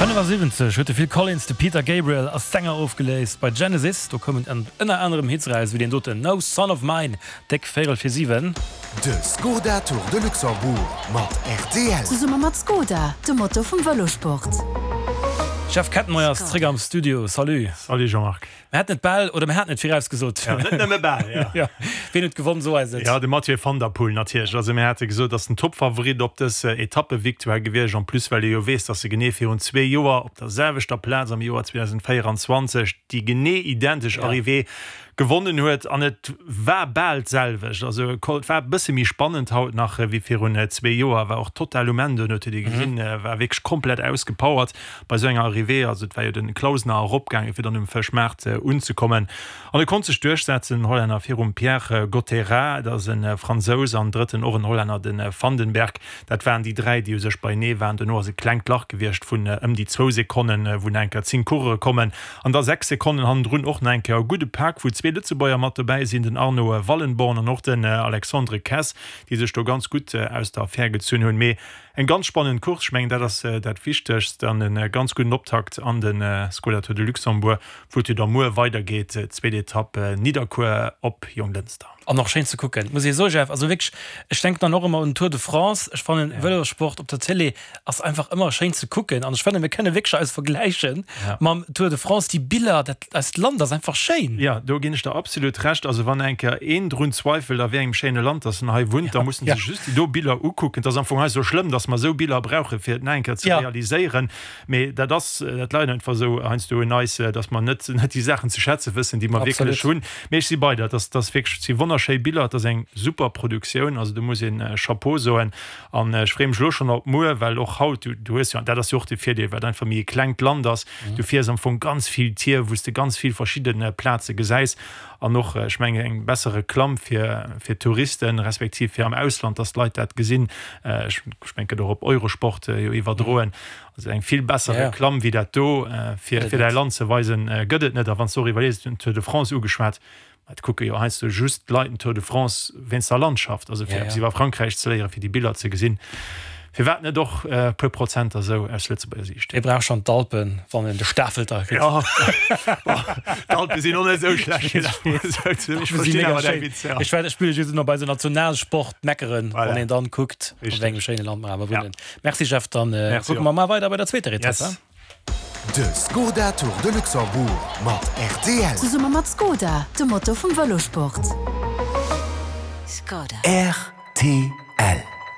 75 huet de Phil Collins de Peter Gabriel als Sänger ofgeléist bei Genesis. Do koumen ënner anerem Hits eraus wéi deen doten No Son of Mine, déck véierel fir 7. De Skoda Tour de Luxembourg mat rtl. Zesumme mat Skoda, dem Motor vum Vëlosport. Jeff Kettenmeyer ass zréck am Studio. Salut. Salut Jean-Marc. Mir haten et bal, oder mir haten et virausgesot. Ja, net nëmme bal, ja. Ja. Wien huet gewonn, so eis et. Ja, de Mathieu van der Poel natierlech. Also mir hate gesot, ass den Toppfavorit op dës Etappevictoire gewiescht. En plus well ee jo weess, datt e genee virun zwee Joer op der selwechter Plaz am Joer 2024 déi genee identesch Arrivée gewonnen huet. An et war bal d'selwecht. Also et war e bësse méi spannend haut nach wéi virun zwee Joer. War och total um Enn duerno, huet ee gesinn, war wierklech komplett ausgepowert. Bei esou enger Arrivée, also et war jo den Clausener eropgaangen, fir dann um Fëschmaart unzekommen, an e konnt sech duerchsetzen, den Hollänner virum Pierre Gottérat, dat ass e Fransous, an drëtten och en Hollänner, de Vandenberg. Dat waren déi dräi, déi u sech beienee waren. Dono ass e klengt Lach gewiescht vun ëm déi zwou Sekonnen, wou nach eng Kéier 10 Coureuren kommen, an da 6 Sekonnen hannendrun och nach eng Kéier e gudde Pak, wou zwee Lëtzebuerger mat dobäi sinn, den Arno Wallenborn an och den Alexandre Kess, déi sech do ganz gutt aus der Affär gezunn hunn. Mee Eng ganz spannend Course, ech mengen dat ass dat Wichtegst an e ganz gudden Optakt an de Skoda Tour de Luxembourg, wou et jo da muer weidergeet, zweet Etapp Nidderkuer op Jonglënster. An och schéin ze kucken, muss ee soen, Jeff. Also wierklech, ech denken dann och ëmmer un den Tour de France. Ech fannen Vëlossport op der Télé ass einfach ëmmer schéin ze kucken an ech fannen, mir kënne wierklech eis vergläiche mam Tour de France. Déi Biller, dat eist Land ass einfach schéin. Jo, do ginn ech der absolut Recht. Also wann eng Kéier een drun zweifelt, a wéi engem schéine Land dass en hei wunnt, da muss en sech just déi do Biller ukucken. Et ass am Fong hei sou schlëmm, dass mer esou Biller brauchen, fir et nach eng Kéier ze realiséieren. Mee dat ass, dat leit einfach esou heiansdo un eis, dass mer net net déi Saachen ze schätze wëssen, déi mer wierklech hunn. Mee ech si bei der, dass dass wierklech, et si wonnerschéi Biller, et ass eng super Produktioun, also do muss een Chapeau soen. An ech freeë mech elo schonn op muer, well och haut, du du hues jo, an dat ass jo och de Virdeel, well et einfach méi e klengt Land ass, du fiers am Fong ganz vill Tier, wou s de ganz vill verschidde Plaze gesäis. An och, ech mengen, eng besser Reklamm fir fir d'Touristen, respektiv fir am Ausland, dass d'Leit dat gesinn. Ech mengen, et gëtt och op Eurosport jo iwwerdroen. Also eng vill besser Reklamm wéi dat do, fir fir däi Land ze weisen, gëtt et net. A wann s de och iwwerlees, du hues den Tour de France ugeschwat, mä et kucke jo heiansdo just d'Leit den Tour de France wéinst der Landschaft, also fir eppes iwwer Frankräich ze léieren, fir déi Biller ze gesinn. Firwat net och e puer Prozenter esou aus Lëtzebuerger Siicht? Ee brauch schonn d'Alpen, wann en de Stafelter kritt. Jo, bon, d'Alpe sinn och net esou schlecht. Ech verstinn awer däi Witz, jo. Ech war, ech spille just ëmmer bei esou Nationalsport meckeren, wann een dann kuckt, a wéi engem schéine Land mer awer wunnen. Merci Jeff, dann kucke mer mar weider bei der zweeter Etapp. Yes. De Skoda Tour de Luxembourg mat rtl. Zesumme mat Skoda, dem Motor vum Vëlosport. Rtl.